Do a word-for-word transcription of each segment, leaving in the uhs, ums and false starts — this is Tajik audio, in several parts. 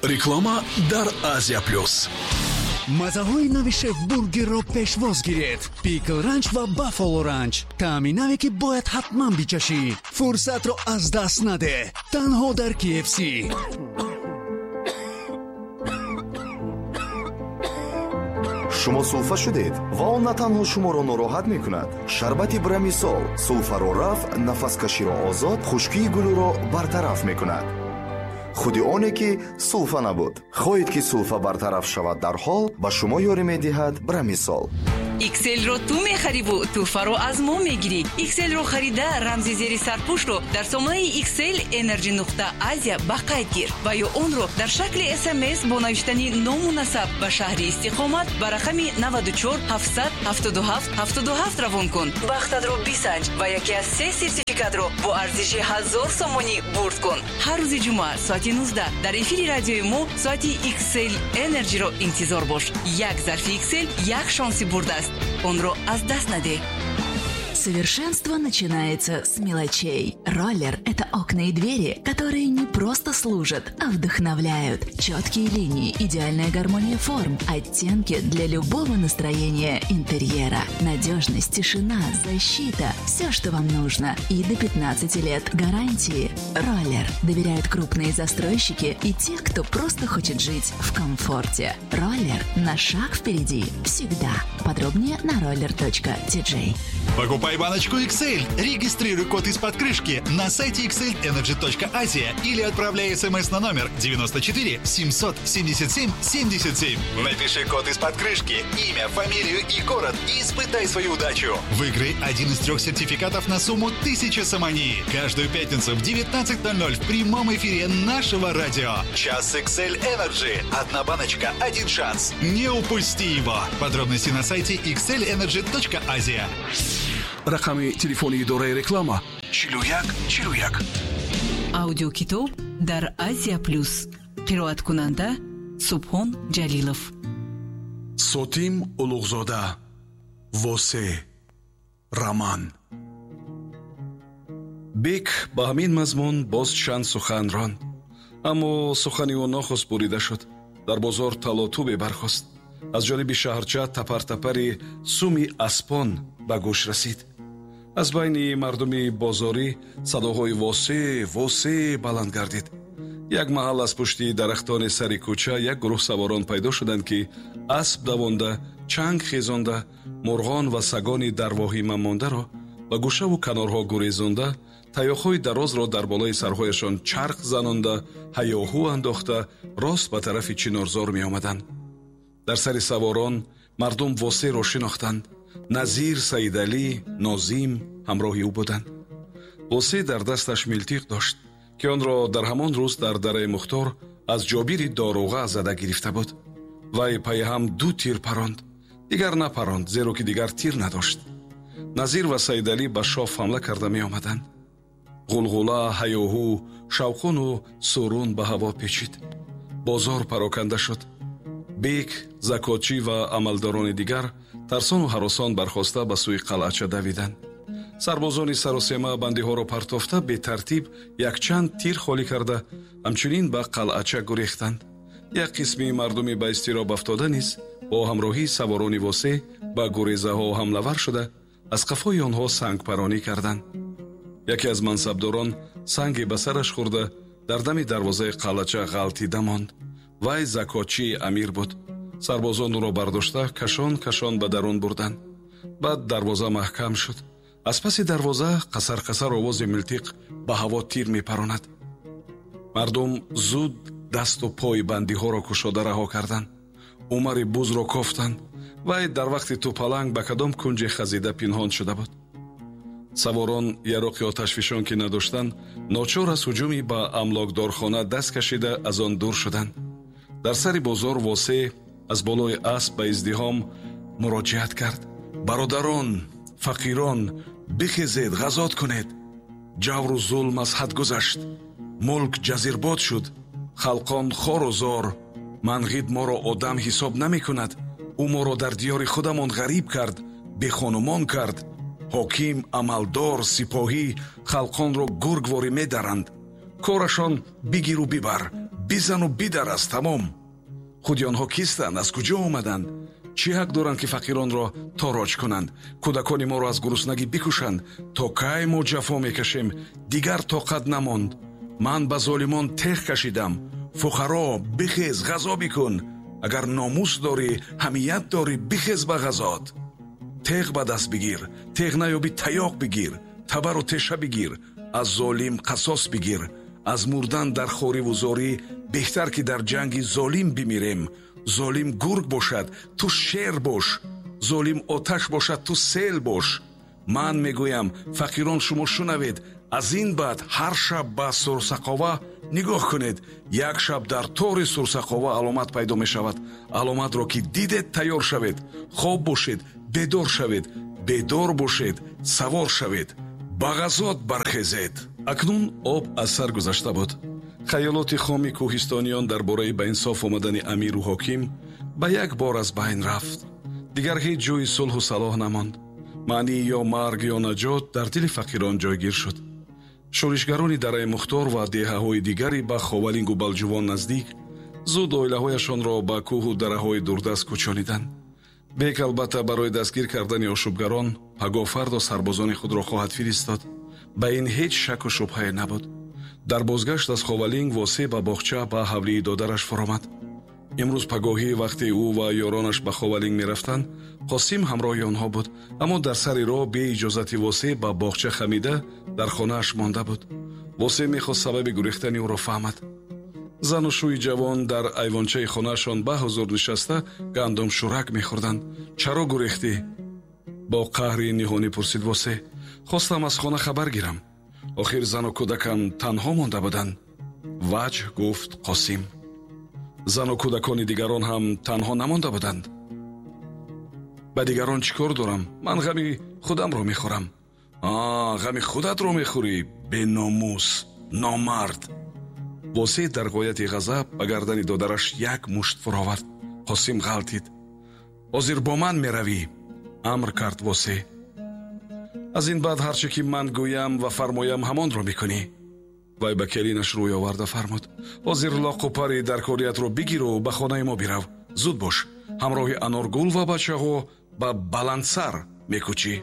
Реклама дар Азия Плюс. Мазаҳои нави Шеф Бургерро пешвоз гиред: Пикл Ранч ва Баффало Ранч. Таъми наве, ки бояд ҳатман бичашӣ. Фурсатро аз даст надеҳ, танҳо дар K F C. Шумо сулфа шудед ва он на танҳо шуморо нороҳат мекунад. Шарбати Брамисол сулфаро рафъ, нафаскаширо озод, хушкии гулӯро бартараф мекунад. Худи оне ки сулфа набуд. Хоҳед, ки сулфа бартараф шавад дарҳол, ба шумо ёрӣ медиҳад Брамисол. Икселро ту мехариву тӯҳфаро аз мо мегирӣ. Икселро харида, рамзи зери сарпӯшро дар сомонаи Иксел Energy нуқта Азия ба қайд гир ва ё онро дар шакли С М С бо навиштани ному насаб ба шаҳри истиқомат ба рақами наваду чор ҳафтсад ҳафтоду ҳафт ҳафтоду ҳафт равон кун. Бахтатро бисанҷ ва яке аз се сертификатро бо арзиши ҳазор сомонӣ бурд кун. Ҳар рӯзи ҷумъа соати нуздаҳ дар эфири радиои мо соати Иксел Energy-ро интизор бош. Як зарфи Иксел як шонси бурд аст, онро аз даст надеҳ. Совершенство начинается с мелочей. Роллер – это окна и двери, которые не просто служат, а вдохновляют. Четкие линии, идеальная гармония форм, оттенки для любого настроения интерьера. Надежность, тишина, защита – все, что вам нужно. И до пятнадцати лет гарантии. Роллер. Доверяют крупные застройщики и те, кто просто хочет жить в комфорте. Роллер на шаг впереди всегда. Подробнее на roller.tj. Покупай баночку X L. Регистрируй код из-под крышки на сайте xlenergy.asia или отправляй смс на номер девяносто четыре семьсот семьдесят семь семьдесят семь. Напиши код из-под крышки, имя, фамилию и город и испытай свою удачу. Выиграй один из трех сертификатов на сумму тысяча сомони. Каждую пятницу в девятнадцать ноль ноль в прямом эфире нашего радио. Час X L Energy. Одна баночка, один шанс. Не упусти его. Подробности на сайте xlenergy.asia. Рақами телефони идораи реклама чилу як чилу як. Аудиокитоб дар Азия Плюс. Қироаткунанда Субҳон Ҷалилов. Сотим Улуғзода, «Восе», роман. Бек ба ҳамин мазмун боз чанд сухан ронд, аммо сухани ӯ нохост бурида шуд. Дар бозор талотубе бархост. Аз ҷониби шаҳрча тапартапари суми аспон ба гӯш расид. Аз байни мардуми бозорӣ садоҳои «Восе, Восе» баланд гардид. Як маҳал аз пушти дарахтони сари кӯча як гурӯҳ саворон пайдо шуданд, ки асп давонда, чанг хезонда, мурғон ва сагони дар воҳима мондаро ба гӯшаву канорҳо гурезонда, таёқҳои дарозро дар болои сарҳояшон чарх занонда, ҳаёҳу андохта, рост ба тарафи чинорзор меомаданд. Дар сари саворон мардум Восеро шинохтанд. Назир, Саидалӣ, Нозим ҳамроҳи ӯ буданд. Восе дар дасташ милтиқ дошт, ки онро дар ҳамон рӯз дар дараи Мухтор аз Ҷобири доруға зада гирифта буд. Вай пайҳам ду тир паронд, дигар напаронд, зеро ки дигар тир надошт. Назир ва Саидалӣ ба шоф ҳамла карда меомаданд. Ғулғула, ҳаёҳу, шавқуну сурун ба ҳаво печид. Бозор пароканда шуд. Бек, закотчӣ ва амалдорони дигар тарсону ҳаросон бархоста ба сӯи қалъача давиданд. Сарбозони саросема бандиҳоро партофта, бетартиб якчанд тир холӣ карда, ҳамчунин ба қалъача гурехтанд. Як қисми мардуми ба изтироб афтода низ бо ҳамроҳии саворони Восе ба гурезаҳо ҳамлавар шуда, аз қафои онҳо сангпаронӣ карданд. Яке аз мансабдорон санге ба сараш хӯрда, дар дами дарвозаи қалъача ғалтида монд. Вай закотчии амир буд. Сарбозон ӯро бардошта, кашон кашон ба дарун бурданд. Баъд дарвоза маҳкам шуд. Аз паси дарвоза қасар қасар овози милтиқ ба ҳаво тир мепаронад. Мардум зуд дасту пои бандиҳоро кушода раҳо карданд. Умари бузро кофтанд. Вай дар вақти тӯпаланг ба кадом кунҷе хазида пинҳон шуда буд. Саворон яроқи оташфишон ки надоштанд, ночор аз ҳуҷуми ба амлокдорхона даст кашида, аз он дур шуданд. Дар сари бозор Восе аз болои асп ба издиҳом муроҷиат кард: «Бародарон, фақирон, бихезед, ғазот кунед! Ҷавру зулм аз ҳад гузашт, мулк ҷазирбод шуд, халқон хору зор. Манғид моро одам ҳисоб намекунад. Ӯ моро дар диёри худамон ғариб кард, бехонумон кард. Ҳоким, амалдор, сипоҳӣ халқонро гургворӣ медаранд. Корашон бигиру бибар, Бизану бидар аз тамом. Худи онҳо кистанд? Аз куҷо омаданд? Чӣ ҳақ доранд, ки фақиронро тороҷ кунанд? Кӯдакони моро аз гуруснагӣ бикушанд? То кай мо ҷафо мекашем? Дигар тоқат намонд. Ман ба золимон теғ кашидам. Фуқаро, бихез, ғазо бикун. Агар номус дорӣ, ҳамият дорӣ, бихез ба ғазот. Теғ ба даст бигир, теғ наёбӣ таёқ бигир, табару теша бигир, аз золим қасос бигир. Аз мурдан дар хориву зорӣ беҳтар, ки дар ҷанги золим бимирем. Золим гург бошад, ту шер бош. Золим оташ бошад, ту сел бош. Ман мегӯям, фақирон, шумо шунавед, аз ин баъд ҳар шаб ба Сурсақова нигоҳ кунед. Як шаб дар тори Сурсақова аломат пайдо мешавад. Аломатро ки дидед, тайёр шавед. Хоб бошед, бедор шавед. Бедор бошед, савор шавед. Ба ғазот бархезед. Акнун об аз сар гузашта буд. Хаёлоти хоми кӯҳистониён дар бораи ба инсоф омадани амиру ҳоким ба як бор аз байн рафт. Дигар ҳеҷ ҷойи сулҳу салоҳ намонд. Маънии ё марг ё наҷот дар дили фақирон ҷойгир шуд. Шӯришгарони дараи Мухтор ва деҳаҳои дигари ба Ховалингу Балҷувон наздик зуд оилаҳояшонро ба кӯҳу дараҳои дурдаст кӯчониданд. Бек албатта барои дастгир кардани ошӯбгарон пагоҳ фардо сарбозони худро хоҳад фиристод. Ба ин ҳеҷ шаку шубҳае набуд. Дар бозгашт аз Ховалинг Восеъ ба боғча ба ҳавлии додараш фуромад. Имрӯз пагоҳӣ вақте ӯ ва ёронаш ба Ховалинг мерафтанд, Қосим ҳамроҳи онҳо буд, аммо дар сари роҳ бе иҷозати Восеъ ба боғча хамида дар хонааш монда буд. Восеъ мехост сабаби гурехтани ӯро фаҳмад. Зану шӯи ҷавон дар айвончаи хонаашон ба ҳузур нишаста гандумшӯрак мехӯрданд. Чаро гурехтӣ? Бо қаҳри ниҳонӣ пурсид Восеъ. Хостам аз хона хабар гирам. Охир зану кӯдакам танҳо монда буданд. Ваҷҳ гуфт Қосим. Зану кӯдакони дигарон ҳам танҳо намонда буданд. Ба дигарон чӣ кор дорам? Ман ғами худамро мехӯрам. А, ғами худатро мехӯрӣ, беномус, номард. Восеъ дар ғояти ғазаб ба гардани додараш як мушт фуровард. Қосим ғалтид. Ҳозир бо ман меравӣ, амр кард Восеъ. Аз ин баъд ҳарче ки ман гӯям ва фармоям, ҳамонро мекунӣ. Вай ба келинаш рӯй оварда фармуд: ҳозир лоқу пари даркориятро бигиру ба хонаи мо бирав. Зуд бош, ҳамроҳи Аноргул ва бачаҳо ба Баландсар мекӯчӣ.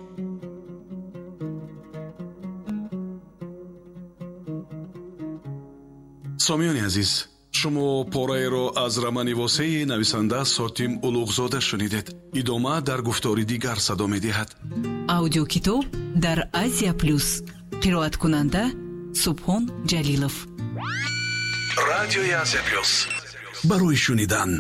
Сомиёни азиз, шумо пораеро аз романи Восеи нависанда Сотим Улуғзода шунидед. Идома дар гуфтори дигар садо медиҳад. Аудиокитоб дар Азия Плюс. Қироаткунанда Субҳон Ҷалилов. Радиои Азия Плюс. Барои шунидан.